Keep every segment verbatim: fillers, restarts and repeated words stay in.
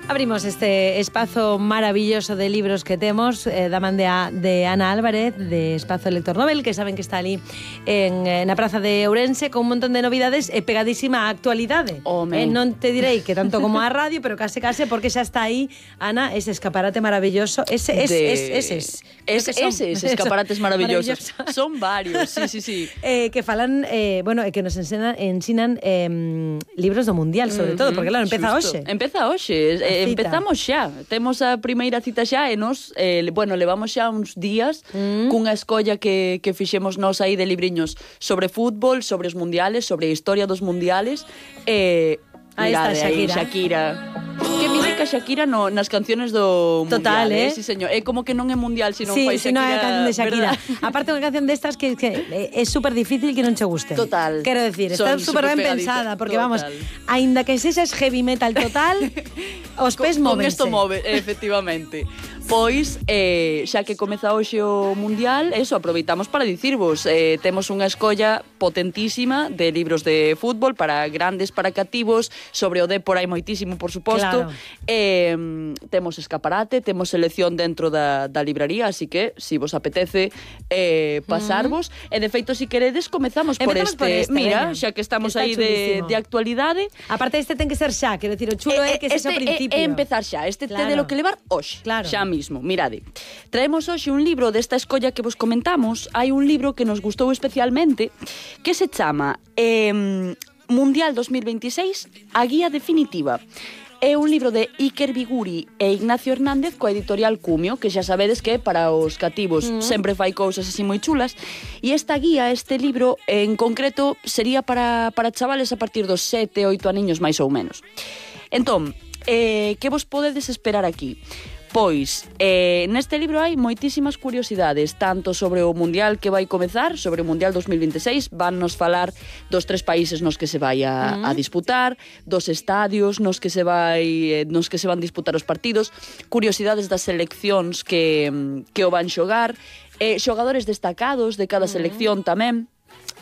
Abrimos este espazo maravilloso de libros que temos eh, da man de, a, de Ana Álvarez de Espazo Lector Nobel, que saben que está ali en, na Praza de Ourense con un montón de novidades e pegadísima á actualidade. Eh, non te direi que tanto como a radio, pero case case porque xa está aí, Ana, ese escaparate maravilloso. Ese, es, de... es, eses. Es, eses escaparates maravillosos. maravillosos. Son varios, sí, sí, sí. Eh, que falan, eh, bueno, que nos ensinan, ensinan eh, libros do Mundial, sobre mm-hmm, todo, porque claro, empeza hoxe. Empeza hoxe. Eh, empezamos xa, temos a primeira cita xa e nos, eh, bueno, levamos xa uns días mm. cunha escolla que, que fixemos nós aí de libriños sobre fútbol, sobre os mundiales, sobre a historia dos mundiales. Eh, aí está Shakira. Aí, Shakira. Que mítica Shakira no, nas canciones do Total, mundial, eh? eh? Sí, señor. É como que non é mundial, sino sí, fai si Shakira. Sí, non é a canción de Shakira. Aparte unha canción destas que, que é super difícil que non che guste. Total. Quero decir, está super ben pensada, porque total. Vamos, aínda que sexas heavy metal total, os pés móvense. Con esto move, efectivamente. Pois, eh, xa que comeza hoxe o Mundial, eso, aproveitamos para dicirvos, eh, temos unha escolla potentísima de libros de fútbol para grandes, para cativos, sobre o Dépor hai moitísimo, por suposto. Claro. Eh, temos escaparate, temos selección dentro da, da libraría, así que, si vos apetece eh, pasarvos, mm. e de feito, si queredes, comezamos por este. por este. Mira, venga, xa que estamos que aí de, de actualidade. Aparte, este ten que ser xa, quero dicir, o chulo é eh, que este sexa ao principio. É empezar xa, este claro. Te de lo que levar hoxe, claro. xa mismo. Mirade, traemos hoxe un libro desta escolla que vos comentamos. Hai un libro que nos gustou especialmente que se chama eh, Mundial dos mil veintiséis, a guía definitiva. É un libro de Iker Biguri e Ignacio Hernández coa editorial Cumio, que xa sabedes que para os cativos mm. sempre fai cousas así moi chulas. E esta guía, este libro en concreto, sería para, para chavales a partir dos sete, oito aniños máis ou menos. Entón, eh, que vos podedes esperar aquí? Pois, eh, neste libro hai moitísimas curiosidades, tanto sobre o Mundial que vai comezar, sobre o Mundial dos mil veintiséis, van nos falar dos tres países nos que se vai a, mm. a disputar, dos estadios nos que se vai nos que se van disputar os partidos, curiosidades das seleccións que, que o van xogar, eh, xogadores destacados de cada selección mm. tamén,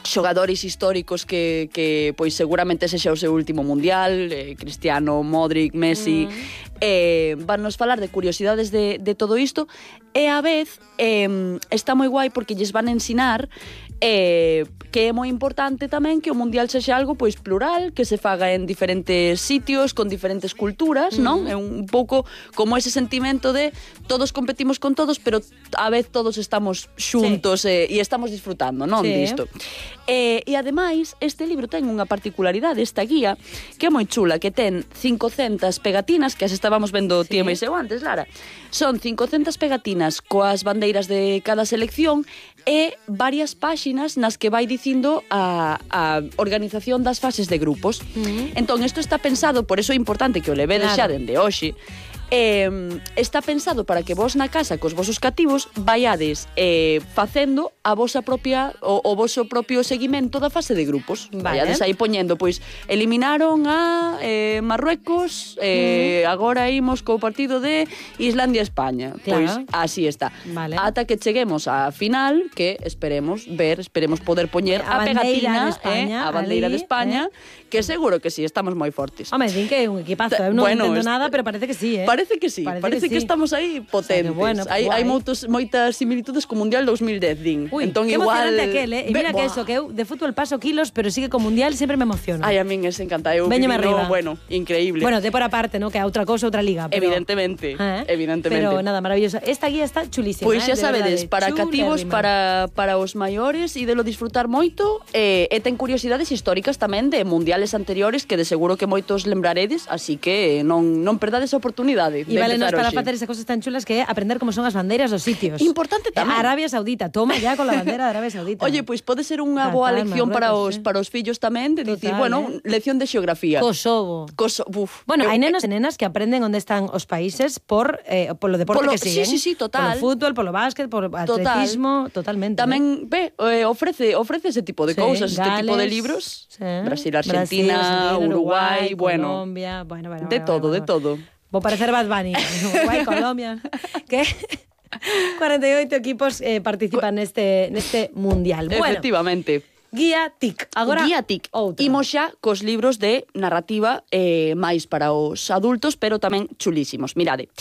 xogadores históricos que, que pois seguramente sexa o seu último mundial, eh, Cristiano, Modric, Messi, mm. eh, van nos falar de curiosidades de, de todo isto, e a vez eh, está moi guai porque lles van ensinar eh, que é moi importante tamén que o mundial sexa algo pois plural, que se faga en diferentes sitios, con diferentes culturas, mm. non? É un pouco como ese sentimento de todos competimos con todos, pero a vez todos estamos xuntos sí. eh, e estamos disfrutando, non? Sí. Disto. Eh, e ademais, este libro ten unha particularidade, esta guía, que é moi chula, que ten cincocentas pegatinas, que as estábamos vendo sí. Tía máis eu antes, Lara. Son cincocentas pegatinas coas bandeiras de cada selección e varias páxinas nas que vai dicindo a, a organización das fases de grupos. Mm. Entón, isto está pensado, por eso é importante que o levedes claro. Xa dende hoxe, Eh, está pensado para que vos na casa cos vosos cativos vaiades eh, facendo a vosa propia o, o voso propio seguimento da fase de grupos. Vale. Vaiades aí poñendo, pois, eliminaron a eh, Marruecos, eh, mm. agora imos co partido de Islandia-España. Claro. Pois así está. Vale. Ata que cheguemos á final, que esperemos ver, esperemos poder poñer a, a pegatina, de España, eh, a bandeira ali, de España, eh. que seguro que sí, estamos moi fortes. Home, din que é un equipazo, eu non bueno, entendo nada, pero parece que sí, eh. Parece que sí, parece, parece que, que sí. Estamos aí potentes. O sea, bueno, hai hai moitos, moitas similitudes co Mundial dos mil dez, din. Uy, entón, que igual... emocionante aquel, eh? E mira Be... que eso, que eu de fútbol paso kilos, pero sigue co Mundial sempre me emociona. Ai, a min es encanta. Eu Veñome arriba. Bueno, increíble. Bueno, de por aparte, ¿no? Que a outra cousa, outra liga. Pero... Evidentemente, ¿Eh? evidentemente. Pero nada, maravilloso. Esta guía está chulísima. Pois xa eh? sabedes, para cativos, para, para os maiores, e de lo disfrutar moito, eh, e ten curiosidades históricas tamén de mundiales anteriores que de seguro que moitos lembraredes, así que non, non perdades a oportunidade. E vale nos para facer esas cosas tan chulas que é aprender como son as bandeiras dos sitios. Importante tamén. Arabia Saudita, toma ya con la bandera de Arabia Saudita. Oye, pois pues pode ser unha boa lección para os para os fillos tamén, de dicir, bueno, eh? lección de xeografía. Kosovo. Kosovo. Uf. Bueno, hai nenos e nenas que aprenden onde están os países por eh, polo deporte polo, que siguen. Sí, sí, sí, total. Polo fútbol, polo básquet, polo atletismo, total. Totalmente. Tamén, ve, eh, ofrece ofrece ese tipo de sí, cousas, Gales, este tipo de libros. Sí. Brasil, Argentina, Brasil, Uruguay, Uruguay, bueno, Colombia, bueno, bueno, de bueno, todo, bueno, de todo. Vou parecer Bad Bunny. Uruguay, Colombia. Que cuarenta y ocho equipos eh, participan neste neste mundial. Bueno, efectivamente. Guía TIC. Agora, Guía TIC. outra. Imos xa cos libros de narrativa eh, máis para os adultos, pero tamén chulísimos. Mirade,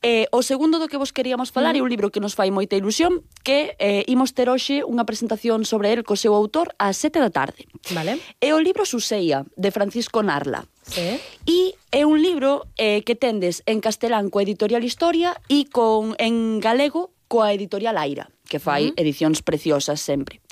eh, o segundo do que vos queríamos falar é un libro que nos fai moita ilusión, que eh, imos ter hoxe unha presentación sobre el co seu autor ás sete da tarde. Vale. É o libro Suseia, de Francisco Narla. Sí. E é un libro eh, que tendes en castelán coa editorial Historia e con en galego coa editorial Aira, que fai uh-huh. edicións preciosas sempre.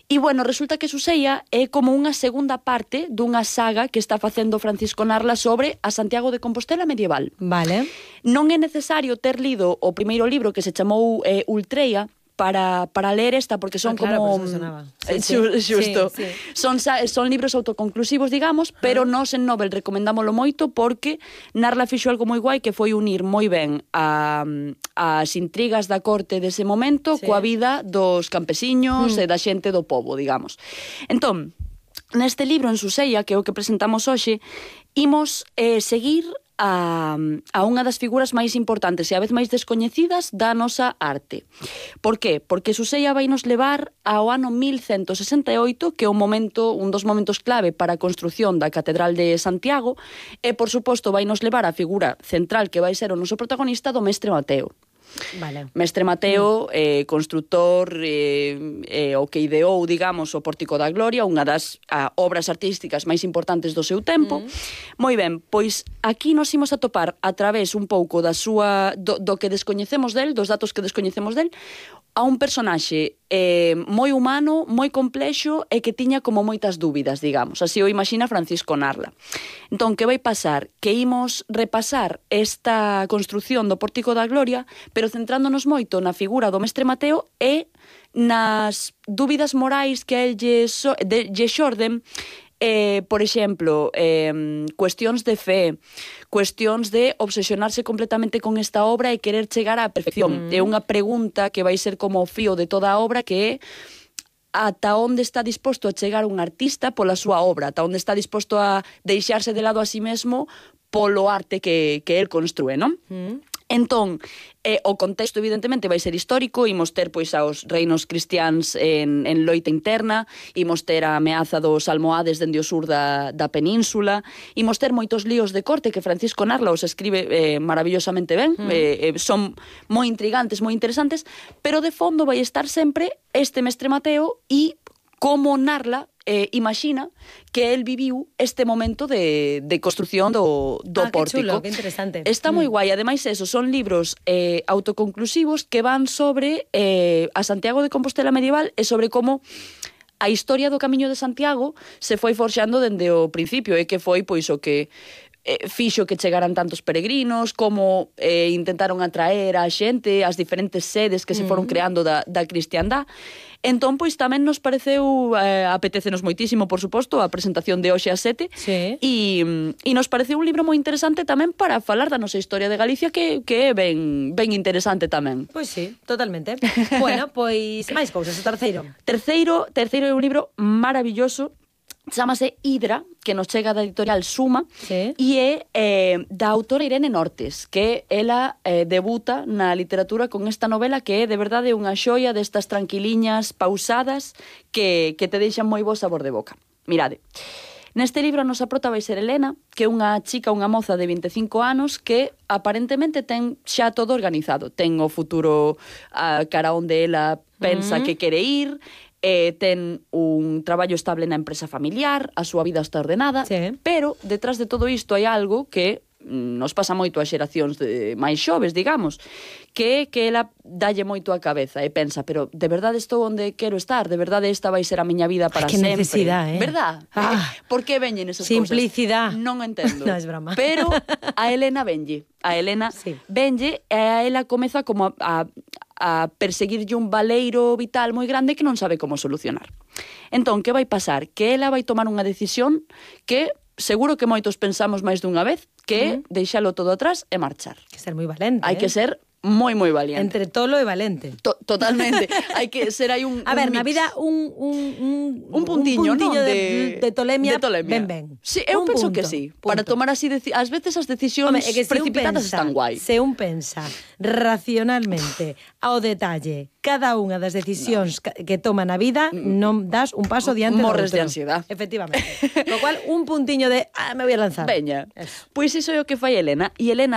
E, bueno, resulta que Suseia é como unha segunda parte dunha saga que está facendo Francisco Narla sobre a Santiago de Compostela medieval. Vale. Non é necesario ter lido o primeiro libro que se chamou eh, Ultreia para, para ler esta, porque son ah, claro, como... Por eso sonaba. Sí, Sí, sí. Xusto. Sí, sí. Son, son libros autoconclusivos, digamos, pero ah. nos en Nobel recomendámoslo moito porque Narla fixo algo moi guai que foi unir moi ben a, as intrigas da corte dese momento sí. coa vida dos campesiños mm. e da xente do pobo, digamos. Entón, neste libro, en Suseia, que é o que presentamos hoxe, imos eh, seguir a, a unha das figuras máis importantes e a vez máis descoñecidas da nosa arte. Por qué? Porque Suseia vai nos levar ao ano mil cento sesenta e oito, que é un momento, un dos momentos clave para a construción da Catedral de Santiago, e, por suposto, vai nos levar a figura central que vai ser o noso protagonista do Mestre Mateo. Vale. Mestre Mateo, eh, constructor, eh, eh, o que ideou, digamos, o Pórtico da Gloria, unha das ah, obras artísticas máis importantes do seu tempo. Mm. Moi ben, pois aquí nos imos a topar a través un pouco da súa do, do que descoñecemos del, dos datos que descoñecemos del, a un personaxe eh, moi humano, moi complexo e que tiña como moitas dúbidas, digamos. Así o imagina Francisco Narla. Entón, que vai pasar? Que imos repasar esta construción do Pórtico da Gloria, pero centrándonos moito na figura do Mestre Mateo e nas dúbidas morais que a el lle, so, de, lle xorden. Eh, por exemplo, eh, cuestións de fe, cuestións de obsesionarse completamente con esta obra e querer chegar á perfección. Mm. É unha pregunta que vai ser como o fío de toda a obra, que é ata onde está disposto a chegar un artista pola súa obra, ata onde está disposto a deixarse de lado a sí mesmo polo arte que, que el construe, non? Mm. Entón, eh, o contexto evidentemente vai ser histórico, imos ter pois aos reinos cristiáns en, en loita interna, imos ter a ameaza dos almohades dende o sur da, da península, imos ter moitos líos de corte que Francisco Narla os escribe eh, maravillosamente ben, mm. eh, eh, son moi intrigantes, moi interesantes, pero de fondo vai estar sempre este Mestre Mateo e como Narla eh, imagina que el viviu este momento de, de construción do, do ah, pórtico. Que chulo, que interesante. Está mm. moi guai. Ademais, eso, son libros eh, autoconclusivos que van sobre eh, a Santiago de Compostela medieval e sobre como a historia do Camiño de Santiago se foi forxando dende o principio e que foi pois o que eh, fixo que chegaran tantos peregrinos, como eh, intentaron atraer a xente, as diferentes sedes que se foron creando da, da cristiandá. Entón, pois, tamén nos pareceu, eh, apetecenos moitísimo, por suposto, a presentación de hoxe ás sete, sí. e, e nos pareceu un libro moi interesante tamén para falar da nosa historia de Galicia, que, que é ben, ben interesante tamén. Pois sí, totalmente. Bueno, pois, máis cousas, o terceiro. Terceiro, terceiro é un libro maravilloso, chámase Hidra, que nos chega da editorial Suma, sí. e é eh, da autora Irene Nortes, que ela eh, debuta na literatura con esta novela que é de verdade unha xoia destas tranquiliñas, pausadas, que, que te deixan moi bo sabor de boca. Mirade, neste libro a nosa prota vai ser Elena, que é unha chica, unha moza de vinte e cinco anos que aparentemente ten xa todo organizado. Ten o futuro a cara onde ela pensa mm. que quere ir, Eh, ten un traballo estable na empresa familiar, a súa vida está ordenada, sí. pero detrás de todo isto hai algo que nos pasa moito a xeracións de máis xoves, digamos, que é que ela dalle moito a cabeza e pensa, pero de verdade estou onde quero estar, de verdade esta vai ser a miña vida para Ay, que sempre. necesidade, eh? Verdad? Ah, eh, por que veñen esas simplicidade. cousas? Non entendo. No, es broma. Pero a Elena venlle, a Elena sí. venlle e a ela comeza como a, a a perseguirlle un baleiro vital moi grande que non sabe como solucionar. Entón, que vai pasar? Que ela vai tomar unha decisión que seguro que moitos pensamos máis dunha vez, que é uh-huh. deixalo todo atrás e marchar. Hai que ser moi valente. Hai eh? que ser moi, moi valiente. Entre tolo e valente. To totalmente. Hai que ser aí un A ver, un na mix. vida un, un, un, Un puntiño, un puntiño non? de, De, de tolemia, de tolemia. ben ben. Sí, eu Un penso punto, que sí. punto. Para tomar así, deci ás veces as decisións Home, é que se un precipitadas pensa, están guai. se un pensa racionalmente ao detalle cada unha das decisións no. que toma na vida, non das un paso diante Morres do de outro. ansiedade. Efectivamente. Lo cual, un puntiño de, ah, me voy a lanzar. Veña. Eso. Pois iso é o que fai Elena. E Elena